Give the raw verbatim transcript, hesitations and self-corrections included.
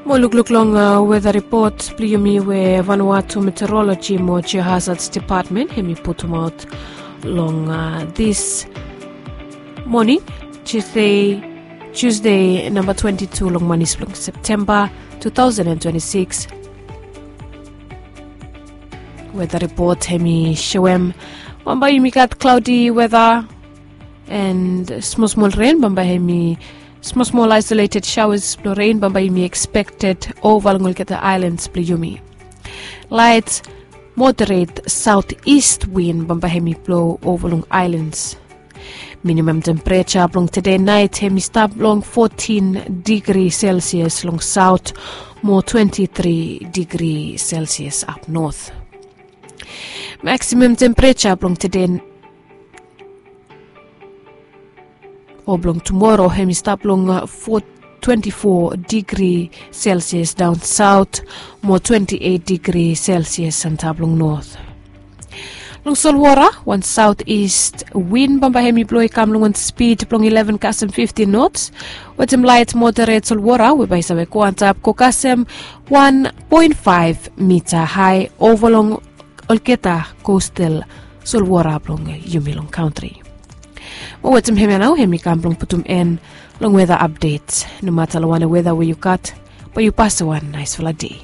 Mo lukluk long weta ripot blong yumi we Vanuatu Meteorology mo Geohazards Department hemi putumaot long dis moning, Tuesday, Tuesday namba twenti tu long manis blong Septemba tu taosen and twenti sikis. Weta ripot hemi soem bambae yumi gat klaodi weta and smol smol ren bambae hemi smol smol aisoleted saoas blong ren bambae yumi ekspekted ova long olgeta aelans blong yumi. Laet moderet saotis win bambae hemi blo ova long aelans. Minimam tempereja blong tede naet hemi stap long fotin digri selsias long saot mo twenti tri digri selsias ap not. Maksimam tempereja blong tede o blong tumoro hemi stap long twenti fo digri selsias daon saot mo twenti eit digri selsias antap long not. Long solwora, wan saotis win bambae hemi blo i kam long wan spid blong ileven kasem fiftin nots, wetem laet moderet solwora we bae i save go antap go kasem wan poen faef mita hae ova long olgeta kostal solwora blong yumi long kantri. Mo wetem hemia nao hemi kam blong putum en long weta apdet. Nomata long wanem weta we yu gat, bae yu pasem wan naesfala dei.